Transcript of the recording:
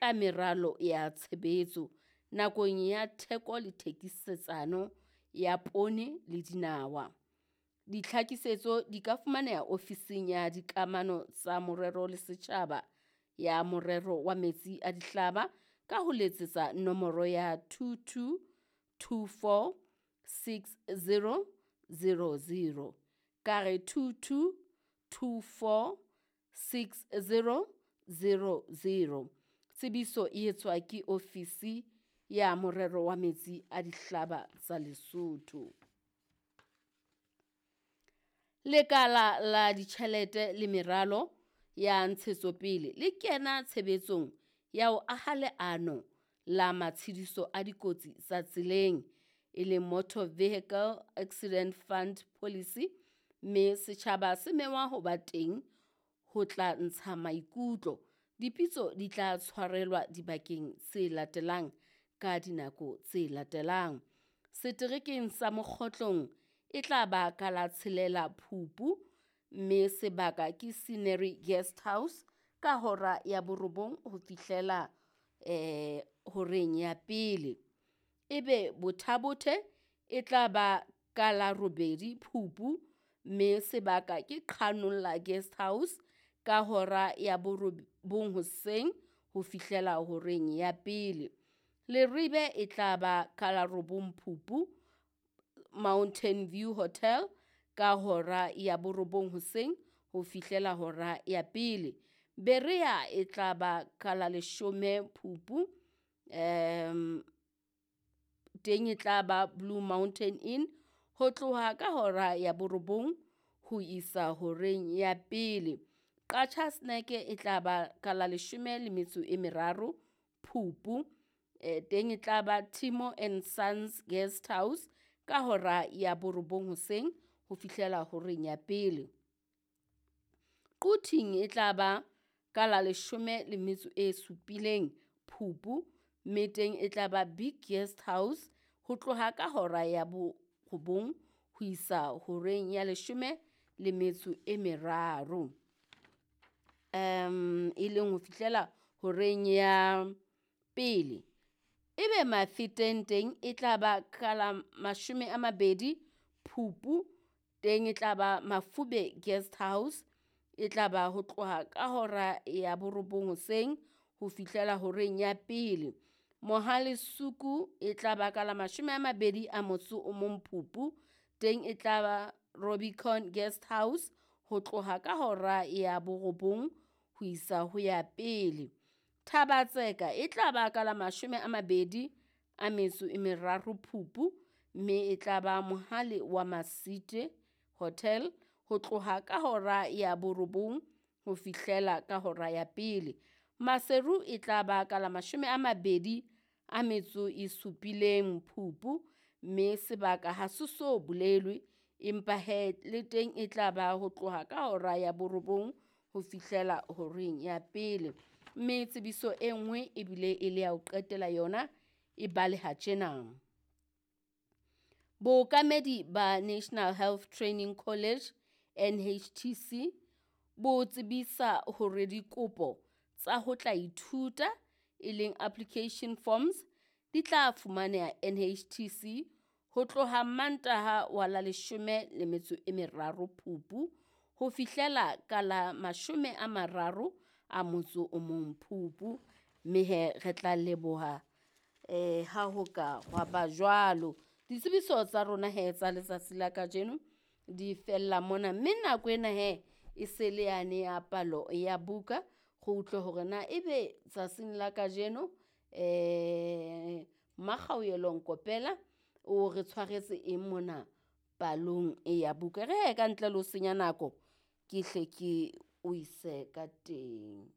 ka meralo ya tshebetso nakong ya theko le thekisetsano ya poone le dinawa. Ditlhakisetso di ka fumaneha ofising ya Dikamano tsa Morero le Setjhaba ya Morero wa Metsi a Dihlaba ka ho letsetsa nomoro ya 22 24 60 00. Ka re 22 24 60 00. Tsebiso e etswa ke ofisi ya Morero wa Metsi a Dihlaba tsa Lesotho. Lekala la Ditjhelete le Meralo ya Ntshetsopele le kena tshebetsong ya ho aha leano la matshediso a dikotsi tsa tseleng, e leng Motor Vehicle Accident Fund Policy, mme setjhaba se mengwa ho ba teng ho tla ntsha maikutlo. Dipitso di tla tshwarelwa dibakeng tse latelang ka dinako tse latelang. Seterekeng sa Mokgotlong e tla ba ka la tshelela Phupu, mme sebaka ke Scenery Guest House ka hora ya borobong ho fihlela horeng ya pele. Ebe Botha-Bothe e tla ba ka la robedi Phupu, mme sebaka ke Qhanolla Guest House ka hora ya borobong hoseng ho fihlela horeng ya pele. Leribe e tla ba ka la robong Phupu, Mountain View Hotel ka hora ya borobong hoseng ho fihlela hora ya pele. Berea e tla ba ka la leshome Phupu, teng e tla ba Blue Mountain Inn ho tloha ka hora ya borobong ho isa horeng ya pele. Qacha's Nek e tla ba ka la leshome le metso e meraro Phupu, teng e tla ba Timo and Sons Guest House ka hora ya borobong hoseng ho fihlela horeng ya pele. Quthing e tla ba ka la leshome le metso e supileng Phupu, mme teng e tla ba Big Guest House ho tloha ka hora ya borobong ho isa horeng ya leshome le metso e meraro. E leng ho fihlela horeng ya pele. Ebe Mafeteng teng e tla ba ka la mashome a mabedi Phupu, teng e tla ba Mafube Guest House, e tla ba ho tloha ka hora ya borobong hoseng ho fihlela horeng ya pele. Mohale Suku e tla ba ka la mashome a mabedi a motso o mong Phupu, teng e tla ba Rubicon Guest House ho tloha ka hora ya borobong ho isa ho ya pele. Thabatseka e tla ba ka la mashome a mabedi a metso e meraro Phupu, mme e tla ba Mohale wa Masite Hotel ho tloha ka hora ya borobong ho fihlela ka hora ya pele. Maseru e tla ba ka la mashome a mabedi a metso e supileng Phupu, mme sebaka ha se so bolelwe, empa he le teng e tla ba ho tloha ka hora ya borobong ho fihlela horeng ya pele. Mme tsebiso e nngwe ebile e le ya ho qetela yona e baleha tjena. Bookamedi ba National Health Training College NHTC bo tsebisa hore dikopo tsa ho tla ithuta e leng application forms di tla fumaneha NHTC ho tloha Mantaha wa la leshome le metso e meraro Phupu ho fihlela ka la mashome a mararo a motso o mong Phupu, mme he re tla leboha ha ho ka hwa ba jwalo. Ditsebiso tsa rona he tsa letsatsi la kajeno di fella mona, mme nako ena he e se le yane ya palo ya buka. Re utlwe hore na ebe tsatsing la kajeno Mmakgaoyelo Nkopela o re tshwaretse eng mona palong e ya buka. Re he ka ntle le ho senya nako ke hle ke o ise ka teng.